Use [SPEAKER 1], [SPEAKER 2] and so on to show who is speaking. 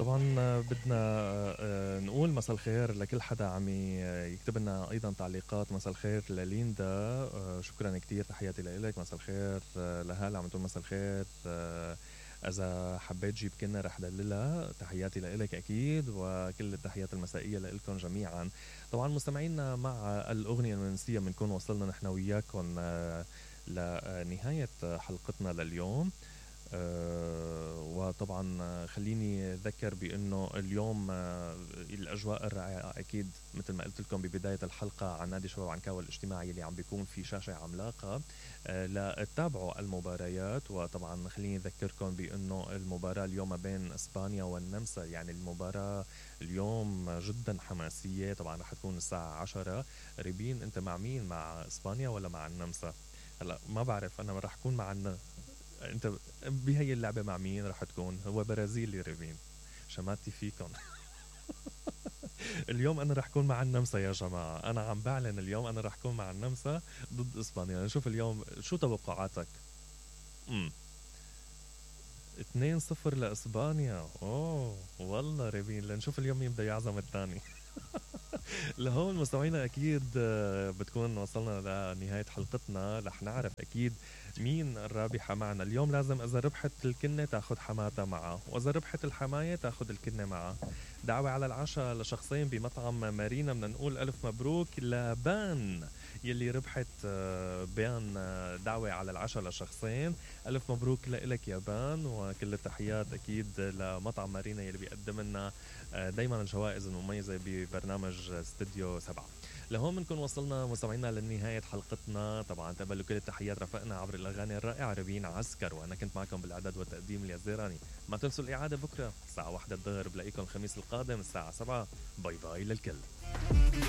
[SPEAKER 1] طبعا بدنا نقول مساء الخير لكل حدا عم يكتب لنا ايضا تعليقات. مساء الخير لليندا، شكرا كتير، تحياتي لك. مساء الخير لهلا عم تقول مساء الخير، اذا حبيت جيب كنا رح دللها. تحياتي لك اكيد، وكل التحيات المسائيه لكم جميعا. طبعا مستمعينا، مع الاغنيه المنسيه بنكون وصلنا نحن وياكم لنهايه حلقتنا لليوم. وطبعا خليني أذكر بأنه اليوم الأجواء الرائعة أكيد مثل ما قلت لكم ببداية الحلقة عن نادي شباب عنكاوي الاجتماعي اللي عم بيكون في شاشة عملاقة لتتابعوا المباريات. وطبعا خليني أذكركم بأنه المباراة اليوم بين إسبانيا والنمسا، يعني المباراة اليوم جدا حماسية. طبعا رح تكون الساعة 10. ريبين أنت مع مين، مع إسبانيا ولا مع النمسا؟ هلا ما بعرف، أنا رح أكون مع انت بهي اللعبة مع مين رح تكون؟ هو برازيلي ريفين، شماتي فيكم. اليوم انا رح كون مع النمسا يا جماعة، انا عم بعلن اليوم انا رح كون مع النمسا ضد اسبانيا. نشوف اليوم شو توقعاتك. 2-0 لاسبانيا. اوه والله ريفين، لنشوف اليوم مين بده يعزم الثاني. لهون مستمعينا اكيد بتكون وصلنا لنهاية حلقتنا. رح نعرف اكيد مين الرابحة معنا اليوم. لازم اذا ربحت الكنة تاخد حماتها معها، واذا ربحت الحماية تاخد الكنة معها. دعوة على العشاء لشخصين بمطعم مارينا. بدنا نقول الف مبروك لبان يلي ربحت بيان دعوة على العشاء لشخصين. الف مبروك لك يا بان، وكل التحيات اكيد لمطعم مارينا يلي بيقدم لنا دايما الجوائز المميزة ببرنامج استوديو 7. لهون بنكون وصلنا مستمعينا لنهاية حلقتنا. طبعا تقبلوا كل التحيات رفقنا عبر الأغاني الرائعة ربين عسكر، وأنا كنت معكم بالإعداد والتقديم اليزيراني. ما تنسوا الإعادة بكرة الساعة 1 الظهر. بلاقيكم الخميس القادم الساعة 7. باي باي للكل.